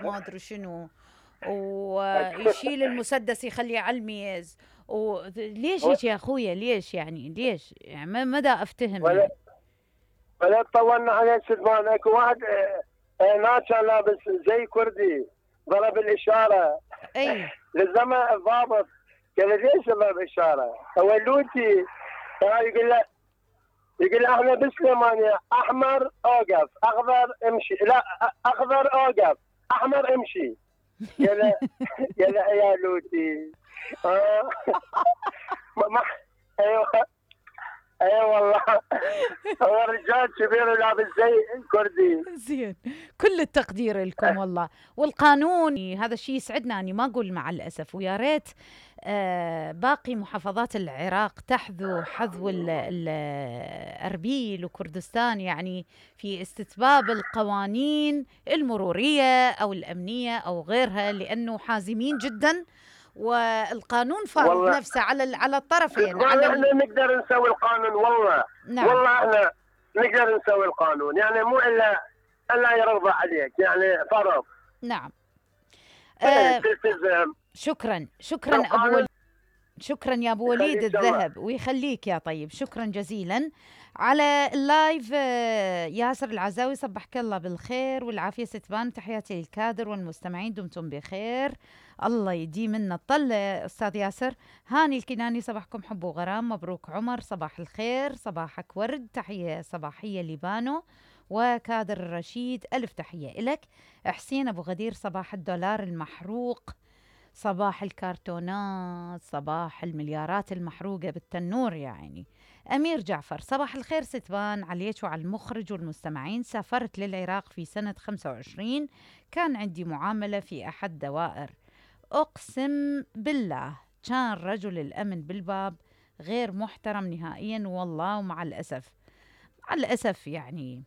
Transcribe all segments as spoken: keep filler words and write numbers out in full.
الميز ما ادري شنو، ويشيل المسدس يخليه على الميز. وليش هيك يا اخويا؟ ليش يعني؟ ليش يعني؟ ما مدى افتهم ولا يعني. ولا طولنا عليه سلمان. اكو واحد هناك كان لابس زي كردي ضرب الاشاره اي لزمه الضابط، قال له ليش ضرب اشاره؟ هو لوتي يقول له يقول له احنا بالسليمانيه احمر اوقف، اخضر امشي، لا اخضر اوقف، احمر امشي. قال له قال له يا لوتي آه. ما ايوه اي والله. هو رجال كبير ولابس زي كردي. زين، كل التقدير لكم والله. والقانون هذا الشيء يسعدنا، اني ما اقول مع الاسف، ويا ريت آه باقي محافظات العراق تحذو حذو الاربيل وكردستان يعني في استتباب القوانين المروريه او الامنيه او غيرها، لانه حازمين جدا، والقانون فارض نفسه على على الطرفين. على احنا نقدر نسوي القانون والله. نعم. والله احنا نقدر نسوي القانون، يعني مو الا الا يرضى عليك، يعني فرض. نعم. آه شكرا شكرا ابو وليد، شكرا يا ابو وليد الذهب ويخليك يا طيب، شكرا جزيلا. على اللايف ياسر العزاوي، صبحك الله بالخير والعافيه ستبان، تحياتي للكادر والمستمعين، دمتم بخير، الله يديم منا الطل. استاذ ياسر. هاني الكناني، صباحكم حب وغرام، مبروك عمر، صباح الخير، صباحك ورد، تحيه صباحيه لبانو وكادر الرشيد، الف تحيه لك. حسين ابو غدير، صباح الدولار المحروق، صباح الكرتونات، صباح المليارات المحروقة بالتنور يعني. أمير جعفر، صباح الخير ستبان عليك وعلى المخرج والمستمعين. سافرت للعراق في سنة خمسة وعشرين، كان عندي معاملة في أحد دوائر، أقسم بالله كان رجل الأمن بالباب غير محترم نهائيا والله. ومع الأسف مع الأسف يعني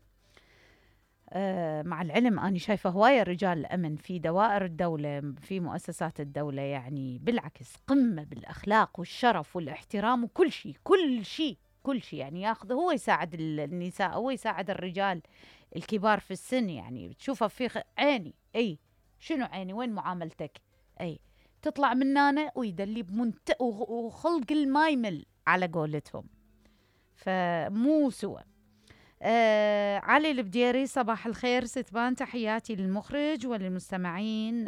آه مع العلم أنا شايفة هواية رجال الأمن في دوائر الدولة، في مؤسسات الدولة، يعني بالعكس قمة بالأخلاق والشرف والاحترام وكل شيء كل شيء كل شيء يعني ياخذ، هو يساعد النساء، هو يساعد الرجال الكبار في السن، يعني بتشوفه في خ... عيني. أي شنو عيني؟ وين معاملتك؟ أي تطلع من هنا ويدلي بمنت وخلق المايمل على قولتهم، فمو سوى. آه علي البديري، صباح الخير ستبان، تحياتي للمخرج وللمستمعين،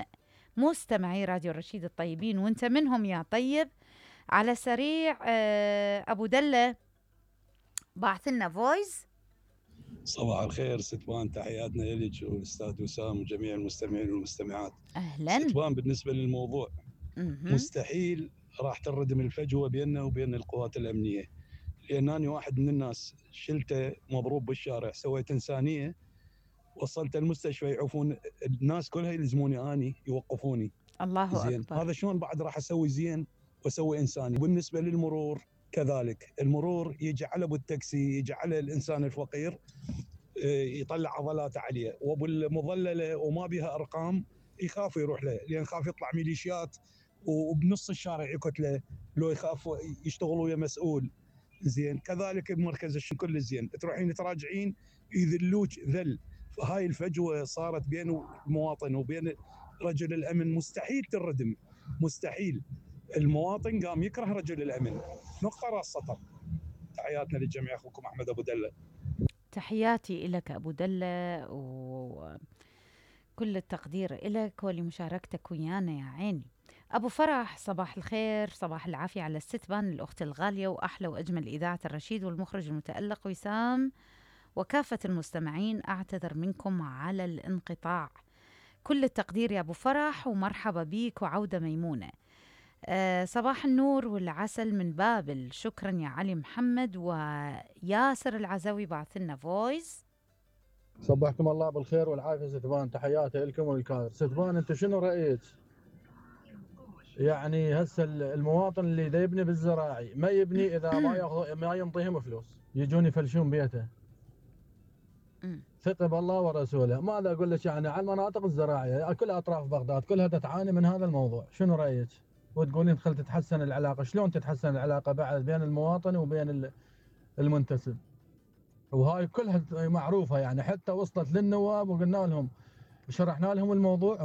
مستمعي راديو الرشيد الطيبين، وانت منهم يا طيب. على سريع آه ابو دلة بعث لنا فويس. صباح الخير ستبان، تحياتنا لك والاستاذ وسام وجميع المستمعين والمستمعات. اهلا ستبان، بالنسبه للموضوع م-م. مستحيل راح تنردم الفجوه بيننا وبين القوات الامنيه، لأن أنا واحد من الناس شلته مضروب بالشارع، سويت إنسانية، وصلت المستشفى يعوفون الناس كلها يلزموني أني يوقفوني. الله زين أكبر. هذا شلون بعد راح أسوي زين وأسوي إنساني؟ وبالنسبة للمرور كذلك، المرور يجعل أبو التاكسي، يجعل الإنسان الفقير يطلع عضلاته عليه، وأبو المظللة وما بها أرقام يخاف يروح له، لأن خاف يطلع ميليشيات وبنص الشارع يقتله، لو يخاف يشتغل ويا مسؤول. زين كذلك بمركز الشرطه كل زين، تروحين تراجعين يذلوك ذل. فهاي الفجوه صارت بين المواطن وبين رجل الامن، مستحيل تردم، مستحيل. المواطن قام يكره رجل الامن، نقطه راس سطر. تحياتنا للجميع، اخوكم احمد ابو دله. تحياتي لك ابو دله وكل التقدير لك ولمشاركتك ويانا يا عيني. أبو فرح، صباح الخير، صباح العافية على الستبان، الأخت الغالية وأحلى وأجمل إذاعة الرشيد والمخرج المتألق وسام وكافة المستمعين. أعتذر منكم على الانقطاع، كل التقدير يا أبو فرح ومرحبا بيك وعودة ميمونة. أه صباح النور والعسل من بابل، شكرا يا علي محمد. وياسر العزاوي بعث لنا فويس. صبحكم الله بالخير والعافية ستبان، تحياتي لكم والكادر. ستبان أنت شنو رأيت؟ يعني هسه المواطن اللي دا يبني بالزراعي ما يبني اذا ما ياخذ ما ينطيهم فلوس، يجون يفلشون بيته. ثق بالله ورسوله. ماذا اقول لك يعني على المناطق الزراعيه كل اطراف بغداد كلها تعاني من هذا الموضوع، شنو رايك؟ وتقولين دخل تتحسن العلاقه، شلون تتحسن العلاقه بعد بين المواطن وبين المنتسب؟ وهاي كلها معروفه يعني، حتى وصلت للنواب وقلنا لهم شرحنا لهم الموضوع